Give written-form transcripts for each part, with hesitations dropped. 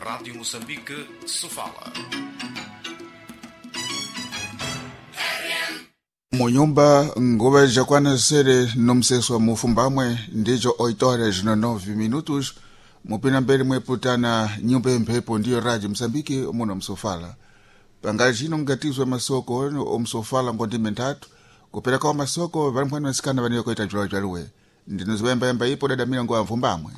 Rádio Moçambique, Sofala. Munyumba nguva jakwana sere nomseswa mufumbamwe ndicho 8 horas no 9 minutos mupina mbele mweputana nyumba yemphepo ndiyo rádio Moçambique muno msofala pangazhino ngatizwe masoko omsofala ngondime nthatu kuperekawo masoko valimphwani vasikana vaniwe kuita jwalojwaluwe ndinozivayambayamba ipo dada milango ya mvumbamwe.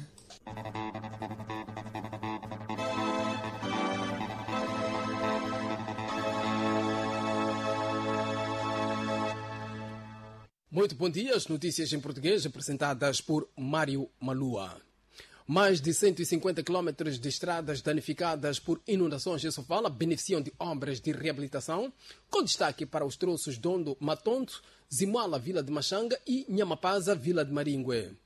Muito bom dia. As notícias em português apresentadas por Mário Malua. Mais de 150 quilómetros de estradas danificadas por inundações em Sofala beneficiam de obras de reabilitação, com destaque para os troços Dondo Matonto, Zimoala, Vila de Machanga e Nhamapaza, Vila de Maringue.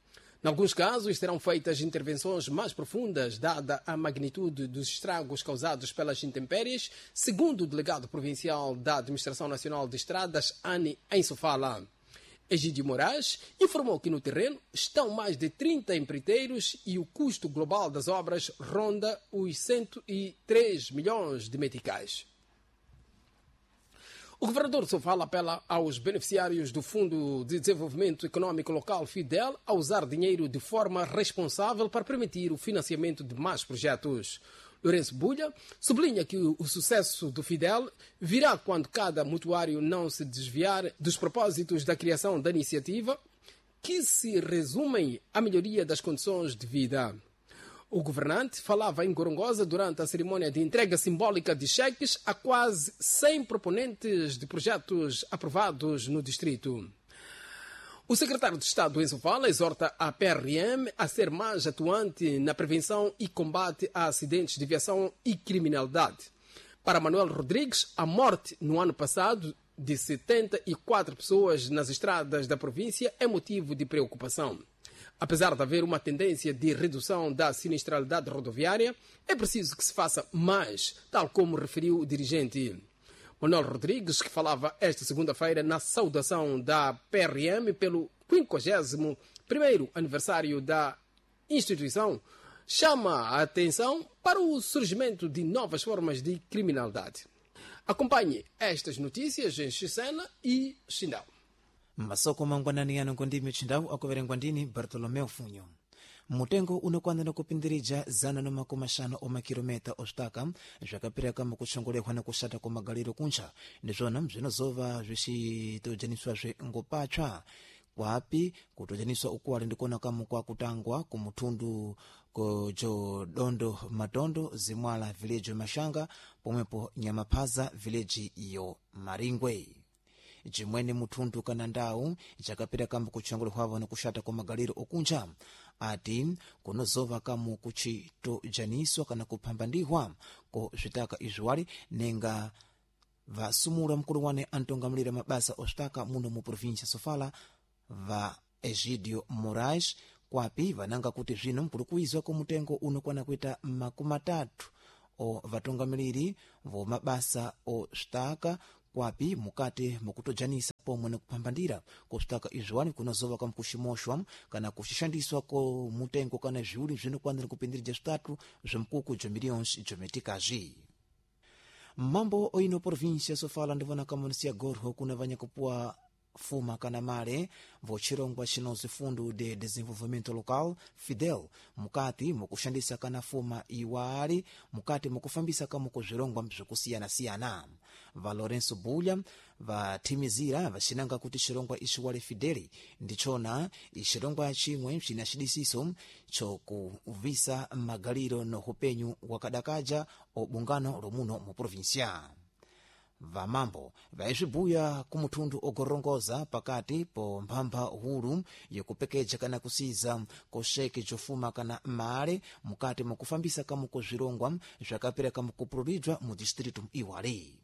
Em alguns casos, serão feitas intervenções mais profundas, dada a magnitude dos estragos causados pelas intempéries, segundo o delegado provincial da Administração Nacional de Estradas, Ani, em Sofala. Egídio Moraes informou que no terreno estão mais de 30 empreiteiros e o custo global das obras ronda os 103 milhões de meticais. O governador de Sofala apela aos beneficiários do Fundo de Desenvolvimento Econômico Local FIDEL a usar dinheiro de forma responsável para permitir o financiamento de mais projetos. Lourenço Bulha sublinha que o sucesso do Fidel virá quando cada mutuário não se desviar dos propósitos da criação da iniciativa, que se resumem à melhoria das condições de vida. O governante falava em Gorongosa durante a cerimônia de entrega simbólica de cheques a quase 100 proponentes de projetos aprovados no distrito. O secretário de Estado Enzo Fala exorta a PRM a ser mais atuante na prevenção e combate a acidentes de viação e criminalidade. Para Manuel Rodrigues, a morte no ano passado de 74 pessoas nas estradas da província é motivo de preocupação. Apesar de haver uma tendência de redução da sinistralidade rodoviária, é preciso que se faça mais, tal como referiu o dirigente. Manuel Rodrigues, que falava esta segunda-feira na saudação da PRM pelo 51º aniversário da instituição, chama a atenção para o surgimento de novas formas de criminalidade. Acompanhe estas notícias em Xicena e Xindau. Masoko mangwanani ano ngondimi chindau akuverengwa ndini Bartolomeu Funyo. Mutengo unokwanira kupindirija 150 omakilomita osvitaka zvakapiraka mukuchongolehwa nekushata kwamagaliro kuncha ndizvona zvinozova zvichitojaniswazve ngopatsva kwapi kutojaniswa ukuwali ndikuona kamu kwa kutangwa kumuthundu kojo Matondo Zimwala village Mashanga pomwepo Nyamaphaza village iyo Maringwe. Jimwene muthundu kana ndau jakapira kambu kutchongolehwavo nikuxata kwa magaliro okunja ati kunozova kamu kuchitojaniswa kana kuphambandihwa ko zvitaka izviwali nenga vasumula mkulu wane antongamulira mabasa osvitaka muno mu província Sofala va Egidio Moraes kwapi vananga kuti zvino mkulu kuizwa kumutengo unokwana kuita 30 o vatungamiriri vo mabasa osvitaka kwapi mukati mukutojanisa pomwe nekuphambandira kusvitaka izviwani kunozova kamukuximoxwa kana kuxixandiswa ko mutengo kana zviuli zvinokwanira kupindirija zvitatu zvemikuku bza milhões bzometikazvi. Mambo oino província Sofala ndivona kamunisia gorho kuna vanyakupuwa fuma kana male vochirongwa chinozi Fundo de Desenvolvimento Local Fidel mukati mukushandisa kana fuma iwali mukati mukufambisa kamuko zvirongwa zvokusiyana-siyana. Va Lourenço Bulha vathimizira vacinanga kuti chirongwa ichiwale Fideli ndichona ichirongwa chimwe china chidisiso chokuvisa magaliro no upenyu wakadakaja obungano lomuno mu província. Vamambo vaizvibuya kumuthundu ogorongoza pakati po mphambha hulu yokupekeja kana kusiza koxeke jofuma kana male mukati mukufambisa kamuko zvirongwa zvakapera kamukupululidwa mu distritu iwali.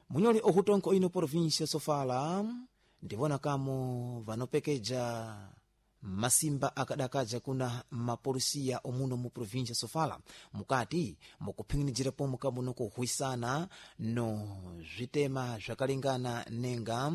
Munyoli ohutonko ino província Sofala ndivona kamo vanopekeja masimba akadakaja kuna mapolisiya omuno mu província Sofala mukati mukuphing'inijira pomwe kamuno kuhwisana no zvitema zvakalingana nenga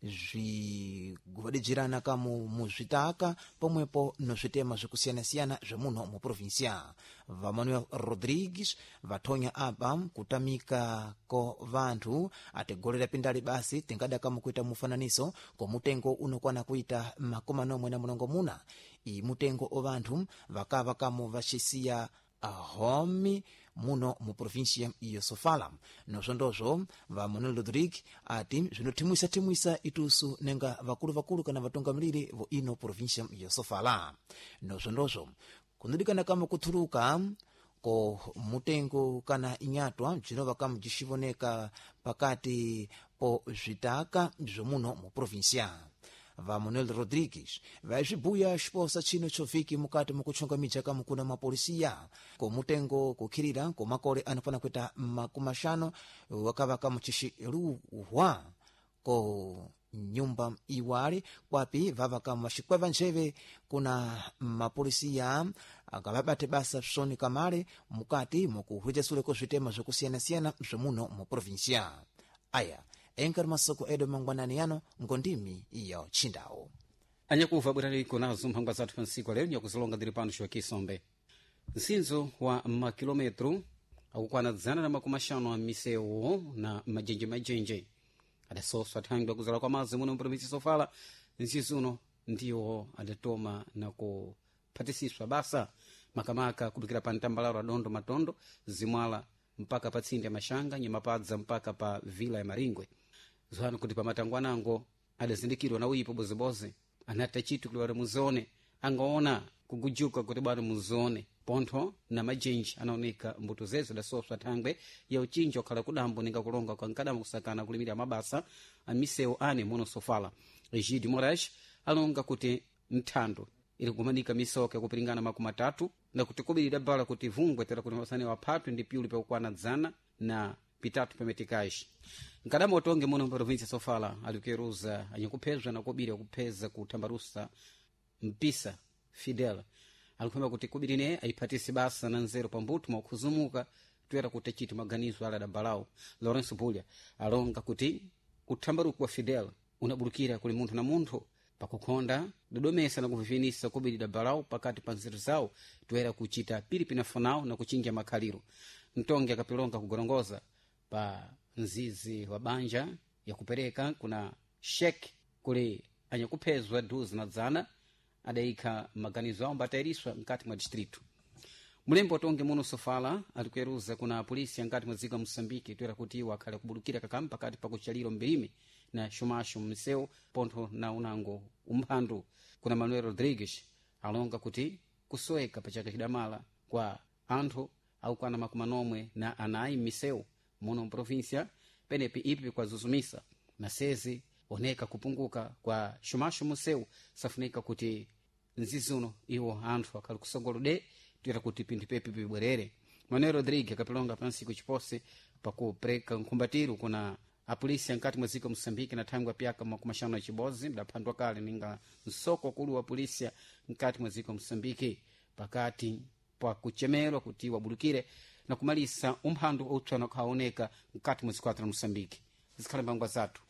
Zviguvadijirana kamu muzvitaka pomwepo nozvitema zvikusiyana-siyana zvemuno mu provinsia. VaManuel Rodrigues vathonya apa kutamika ko vanthu atigolera pindali basi tingada kamu kuita mufananiso ko mutengo unokwana kuita 48. I mutengo o vanthu vakava kamu vacisiya homi muno mu província ya Sofala. Nozvondozvo VaManuel Rodrigues ati zvinothimwisa-thimwisa itusu nenga vakulu-vakulu kana vatungamiriri vo ino província ya Sofala. Nozvondozvo kunodikana kama kuthuluka ko mutengo kana inyatwa bzinova kamu bzicivoneka pakati po zvitaka zvomuno mu província. VaManuel Rodrigues vaizvibuya xiposa chino chovhiki mukati mukuchongamija kamukuna mapolisiya ko mutengo kukhirira ko makore anofana kuita 50 wakava kamuchixiluhwa ko nyumba iwali kwapi vava kamu vaxikweva njeve kuna mapolisiya akavabate basa psoni kamale mukati mukuhwitasule ko zvitema zvokusiyana-siyana zvomuno mu provinsia. Aya enkari masoko edu mangwanani yano ngondimi iyo chindawo. Anyakuva bweraliko nazo mphangwa zathu pa ntsiku lero nyakuzilonga ndili pano Joaquim Msinzo wa makilometro akukwana 150 a misewu na majenje adasoswa thangwi akuzala kwa mazi muno mprovinsi Sofala. Nzizi uno ndiwo adatoma na kuphatisiswa basa makamaka kubikira pa mtambalaro adondo matondo zimwala mpaka pa tsinde ya Mashanga Nyamapadza mpaka pa vila ya Maringwe. Zohano kuti pamatangwanango adazindikirwa na uyipo bozeboze anata chitu kuti wali muzone angaona kugujuka kuti bwana muzone pontho na majenji anaoneka mbuto zezo adasoswa thangwe ya uchinji wakhala kudambo ninga kulonga kwa nkadama kusakana kulimira mabasa amisewu ane muno Sofala. Egide Moraes alonga kuti mthando ili kumanika misoka yakupiringana 30 na kuti kubiri bala kuti vungwe tera kuti mabasani waphatwe ndi piuli pakukwana 103 pametikaji. Nkadama utonge muno mprovinsia Sofala alikueruza anyakuphezwa na kubiri akupheza kuthambarusa mpisa Fidel alikuphema kuti kubiri ne ayiphatise basa na nzeru pambuto mwakhuzumuka toera kuti achite maganizo ala adabalawo. Lawrence Bulya alonga kuti uthambaruko wa Fidel unabulukira kuli munthu na munthu pakukhonda dodomesa na kuvivinisa kubiri dabalawo pakati pa nzeru zawo toera kuchita pili pinafonawo na kuchinja makhaliro. Mtongi akapilonga kugorongoza pa mzizi wa banja yakupereka kuna shek kuli anyakuphezwa duzi na dzana adayikha maganizo awo mbatayiriswa mkati mwa distrito. Mulembo watonge muno Sofala alikueruza kuna polisi ankati mwa dziko la Moçambique toera kuti iwo akhale akubulukira kakamu pakati pa kuchaliro mbirime na xumaxo mmisewu pontho na unango umphandu. Kuna Manuel Rodrigues alonga kuti kusoweka pa chaka chidamala kwa anthu akukwana 94 m'misewu muno mprovinsia penepi ipi kwazuzumisa na sezi oneka kupunguka kwa xumaxo musewu safunika kuti mzizi uno iwo anthu akhali kusogolo de toera kuti pinthu pepi pibwerere. Manuel Rodrigues akapilonga pansiku chipose pakupereka nkhumbatiro kuna apolisi ankati mwa dziko Moçambique na thangwi apyaka 56 mdaphandwa kale ninga msoko wakulu wa polisia mkati mwa dziko Moçambique pakati pa kuchemerwa kuti wabulukire na kumalisa umphandu utswana ukhaoneka mkati mwa dziko la Moçambique. Zikhale mbangwa zathu.